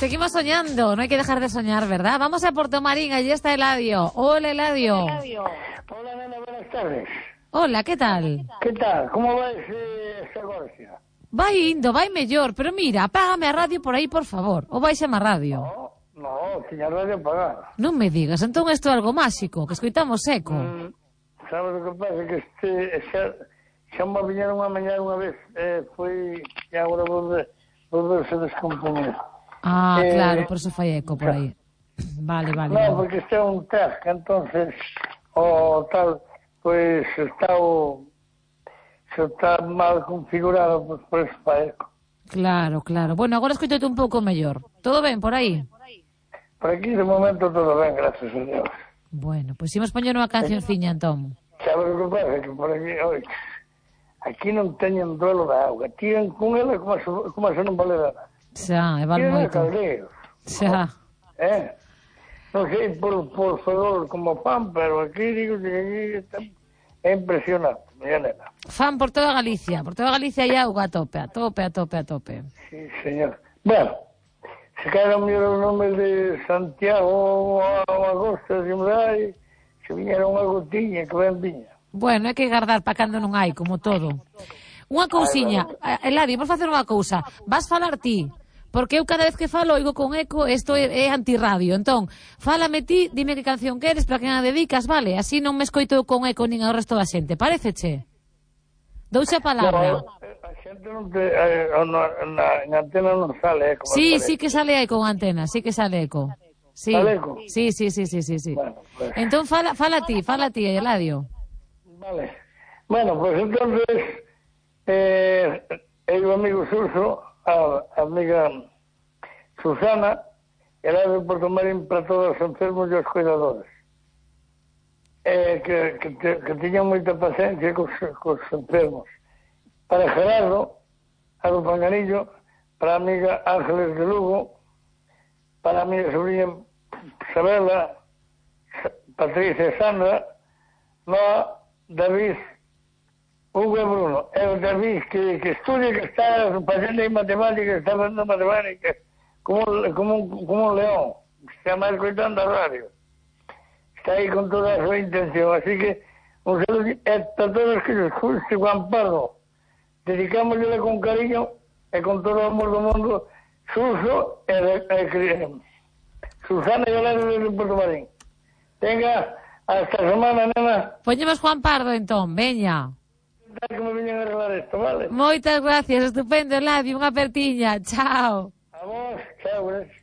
Seguimos soñando, no hay que dejar de soñar, ¿verdad? Vamos a Porto Marín, allí está Eladio. Hola, Eladio. Hola, nena, buenas tardes. Hola, ¿qué tal? Que tal? Como vai esta Gorcia? Vai indo, vai mellor, pero mira, apágame a radio por aí, por favor. Ou baixame a radio. No, tiña radio apagada. Non me digas, entón isto é algo máxico, que escoitamos eco. Sabes o que pasa? Que xa me viñeron a mañana unha vez, foi, e agora volverse a descompoñer. Claro, por eso fai eco por aí. Vale. No, porque este é un task, entonces, o tal, pois está mal configurado, pues, por eso fai eco. Claro. Bueno, agora escoitote un pouco mellor. Todo ben por aí? Por aquí, de momento, todo ben, gracias a Dios. Bueno, pois imos poñer unha cancionciña, entón. Sabes o que pasa? Que por aquí, aquí non teñen duelo da auga. Tiran con ela como se non vale nada. Xa, e val moito. Xa. Non sei por favor como fan, pero aquí digo que aquí é impresionante, miña nena. Fan por toda Galicia hai auga a tope. Sí, señor. Bueno, se caeron o nome de Santiago ou Agosto, se viñera unha gotiña que ben viña. Bueno, hai que guardar para cando non hai, como todo. Unha cousiña, Eladio, vamos facer unha cousa. Vas falar ti, porque eu cada vez que falo oigo con eco, isto é antirradio. Entón, fálame ti, dime que canción queres, para quen a dedicas, vale? Así non me escoito con eco nin ao resto da xente. Paréceche? Douxe a palabra. No, a xente non en antena non sale eco. Sí que sale aí con antena, sí que sale eco. Sí. Sale eco? Sí. Bueno, pues. Entón, fala ti, Eladio. Vale. Bueno, pues entonces, el amigo Suso, a amiga Susana, era de Porto Marín para todos os enfermos e os cuidadores. Que tiñan moita paciencia cos enfermos. Para Gerardo, a do Panganillo, para a amiga Ángeles de Lugo, para a miña sobrinha Isabela, Patricia e Sandra, Noa, David, Hugo e Bruno. É o David que estudia, que está facendo aí matemáticas, está facendo matemáticas como un león. Está máis coitando a radio. Está aí con toda a súa intención. Así que, un saludo para todos os que nos escuchen, Juan Pardo. Dedicámosle con cariño e con todo o amor do mundo, Suso e Susana e Eladio de Porto Marín. Venga, hasta semana, nena. Poñemos Juan Pardo, entón, veña. Que me viñen a arreglar isto, vale? Moitas gracias, estupendo, Eladio, unha apertiña, chao. A vos, chao, gracias.